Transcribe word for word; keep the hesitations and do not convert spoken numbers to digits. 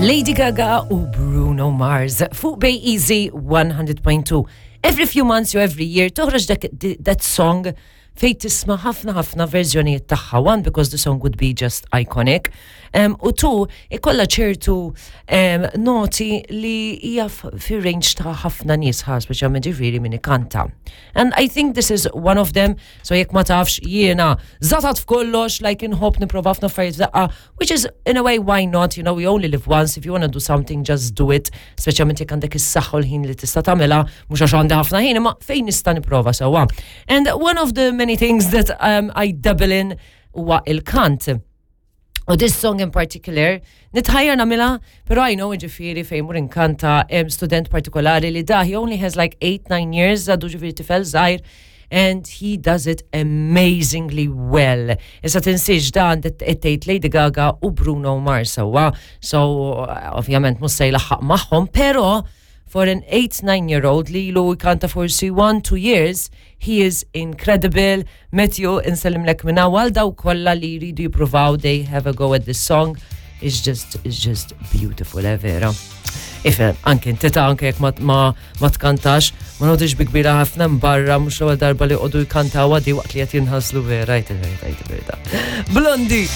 Lady Gaga u Bruno Mars fuq Bay Easy one hundred point two. Every few months or every year toħroġ dak that song fej tisma' ħafna ħafna verżjonijiet tagħha. One, because the song would be just iconic. Um, u two, ikolla ċertu um, noti li hija fir-range ta' ħafna nies ħa, speċjalment ġifieri min ikanta. And I think this is one of them, so jekk ma tafx, jiena żatat f'kollox, like inħobb nipprova ħafna affarijiet f'daqqa, which is in a way, why not, you know, we only live once, if you wanna do something, just do it, speċjalment jekk għandek is-saħħa u l-ħin li tista' tagħmilha, mhux għax għandi ħafna ħin, imma fejn nista' nipprova sewwa. And one of the many things that um, I dabble in huwa il-kant. U this song in particular, nitħajjar nagħmilha, pero I know ġifieri fejn mur inkanta hemm student partikolari li da, he only has like eight, nine years, għadu ġifieri tifel żgħir, and he does it amazingly well. Issa tinsiex dan tgħid Lady Gaga u Bruno Mars sewwa, so ovvjament mhux se jlaħħaq magħhom, pero for an eight, nine year old li ilu jkanta forsi one, two years, he is incredible. Matthew, insellimlek minna għal dawk kollha li jridu jippruvaw, they have a go at this song. It's just, it's just beautiful, eh, vera. Ifhem, anke inti ta' anke jekk ma, ma, ma tkantax, ma noqgħodx bi kbira ħafna barra, mhux l-ewwel darba li qogħdu jkantaw għadi waqt li qed jinħaslu vera, jt il-verità, jt il-verità. Blondie!